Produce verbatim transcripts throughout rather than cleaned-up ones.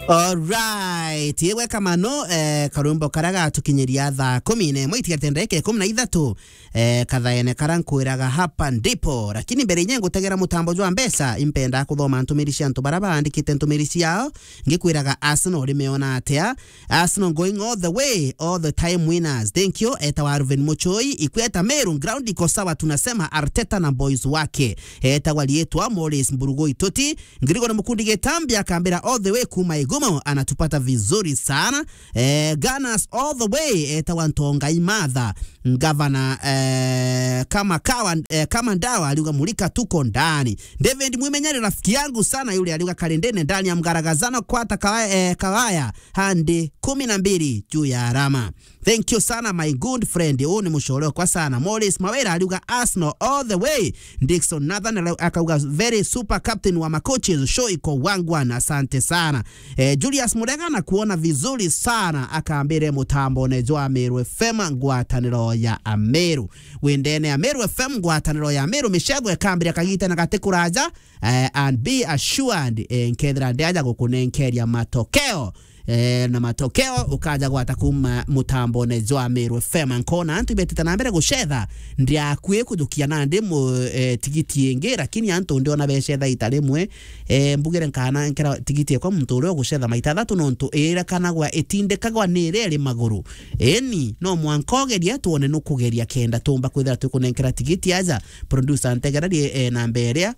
Alright, igweka mano, eh, karwimbo karia gatukinyiria thaa kumi na imwe itigarite ndagika ikumi na ithatu, eh, kathaene karia nkwiraga hapa ndipo. Lakini mbere inya ngutegera mutambo jwa mbeca, impenda kuthoma ntumiri cia antu baria baandikite ntumiri ciao, ngikwiraga Arsenal rimeona atia. Arsenal going all the way, all the time winners. Thank you. Etagwa Ruben Muchoi, ikweta Meru, ground iko sawa, tunasema Arteta na boys wake. Etagwa rietwa Morris Mburugu Ituti, Ngirigo ni mukundi Gitambi akambira all the way kuma Igumo, anatupata vizuri sana. Eh, Gunners all the way, etagwa Ntonga Imatha. Ngavana, eh, kama kawa, eh, kama ndawa, aliuga mulika tuko ndani. David Mwimenyeri rafiki yangu sana yule aliuga Kalendene ndani ya mgaragazano kwata kawaya, eh, kawaya handi kumi na mbili juu ya alama. Thank you sana, my good friend. Huu ni mushore kwa sana. Morris Mawira aliuga Arsenal all the way. Dickson Nathan ali-, akauga very super captain wa macoaches. Show iko wangwan. Asante sana. Eh, Julius Murega na kuona vizuri sana. Akambire mutambo ne jwa Meru F M ngwataniro ya Ameru. Windene ya Meru F M ngwataniro ya Ameru. Mishego ekambire kagita na gati kuraja. Eh, and be assured, eh, nkethira ndiaja gukunenkeria matokeo. Eh, na matokeo ukaja gwata kuma mutambone jwa Meru F M. Nkona antu ibetite na mbere gucetha, ndiakui kujukia nandi mu, eh, tigiti ingi, lakini antu ndiona becetha ita rimwe. Eh, mbugire nkana nkera tigiti ekwa muntu uria ugucetha maita athatu, nontu irekanagwa itindikagwa ni iria iri maguru. Eni, no mwanka ugeria, twone nukugeria kenda tumba kwithira twikunenkera tigiti aja. Producer ntegererie, eh, namba iria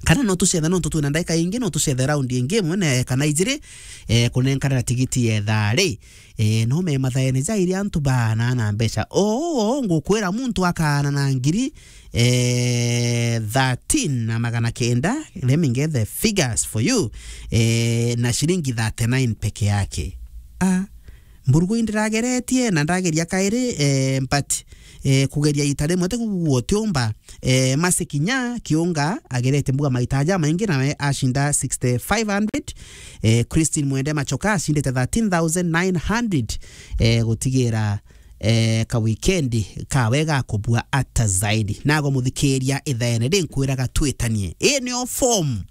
kana no tucethe, nontu twina ndaika ingi, no tucethe round ingi imwe na kana ijiri, eh, kunenkanira tigiti ya thaa ri. Eh, no me mathaene ja iria antu baana na mbeca. Oo, oo, ngukwira muntu akaana na ngiri, eh, thirteen na magana kenda, let me get the figures for you, eh, na ciringi thirty-nine peke yake. Ah, Mburugu indirageretie na ndageria kairi, eh, but, eh, kugeria ita rimwe ti kuguo utiumba. Eh, Mercy Kinya Kiunga agerete mbuga maita jamaingi nawe ashinda sixty-five hundred. Eh, Christine Mwende Machoka ashindite thirteen thousand nine hundred. Eh, gutigira, eh, ka weekend kawe gakubua ata zaidi. Nago muthikiria ithaene ri nkwiraga twitanie. Ii nio form.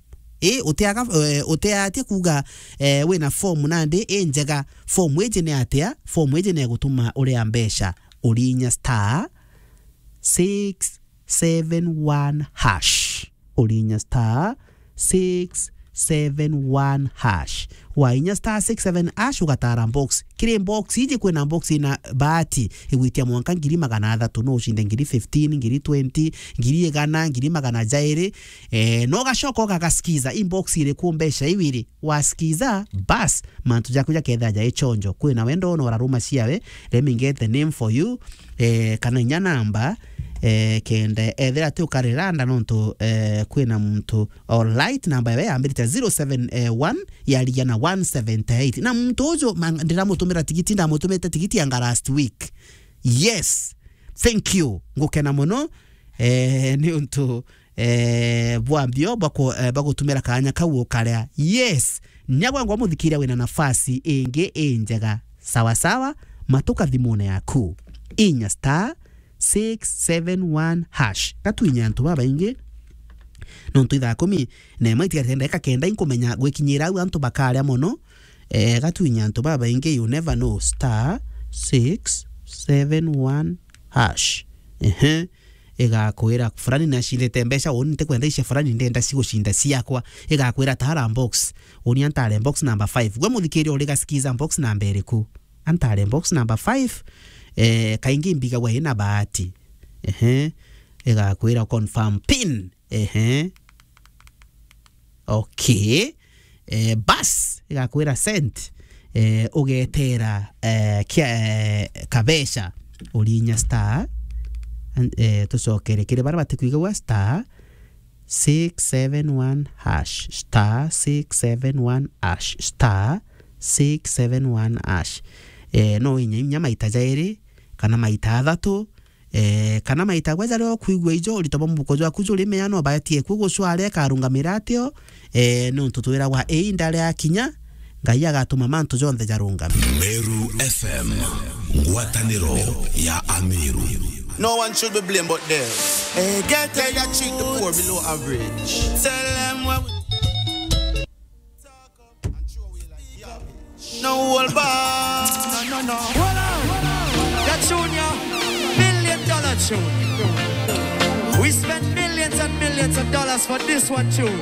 Ii, utiaga, eh, utiatia kuga, eh, wina form nandi i njega. Form iji ni atia? Form iji ni egutuma uria mbeca urinya star six seven one hash. Urinya star six seven one hash. Wainya star six seven hash, ugatara box. Kiri box iji kwina box ina bahati igwitia mwanka ngiri magana athatu, no ucinde ngiri fifteen, ngiri twenty, ngiri igana, ngiri magana jairi. Eh, no ugacoka ugagasikiza, i box iriku mbeca iu iri. Wasikiza, bas, mantu jaku jakethira jai chonjo. Kwina wendo no uraruma ciawe, let me get the name for you. Eh, kana inya namba, eh, kenda ethira ti ukariranda nontu, eh, kwina muntu, alright, namba yawe yambirite zero seven one, yarigia na one seventy eight. Na muntu uju ma-, ndiramutumira tigiti, ndamutumite tigiti yanga last week. Yes. Thank you. Ngukena muno. Eh, ni untu, eh, bwa mbio bwa ku-, eh, bwa gutumira kanya kau ukaria. Yes. Nyagwa ngwa muthikiria wina nafasi ingi injega. Sawa sawa, matuka thimune yaku. Inya star six seven one hash. Gatwinya antu babaingi. Nontu ithaa kumi na imwe itigarite ndagika kenda, inkumenya gwikinyira au antu bakaria mono. Eh, gatwinya antu babaingi, you never know. Star six seven one hash. Ehe. Igakwira fulani nashindite mbeca, uni ntikwenda icia fulani, ndenda cigucinda ciakwa. Igakwira tara box. Uni antare box number five. Gwe muthikiria uri gasikiza box namba iriku? Antare box number five. Eh, kaingi mbigagwa ina bahati. Ehe. Igakwira confirm pin. Ehe. Okay. Eh, bas, igakwira sent. Eh, ugetera, eh, kia, eh, kabeca. Urinya star. An-, eh, tucokere kiri baria batikuigagua star six seven one hash, star six seven one hash, star six seven one hash. Eh, no inya, inya maita jairi, kana maita athatu, eh, kana maita gwe jaria ukwigua ijo, urito bwa mubuko jwaku juri mea no baetie ku gucware karungamira atio, eh, nontu twiragwa iinda riakinya, Ngai agatuma mantu jonthe jarungame. Meru F M, ngwataniro ya Ameru. No one should be blamed but them. Eh, get there, you treat the poor below average. Tell them what we No hold back. No, no, no. Hold on. That tune, yeah. Million dollar tune. We spend millions and millions of dollars for this one tune.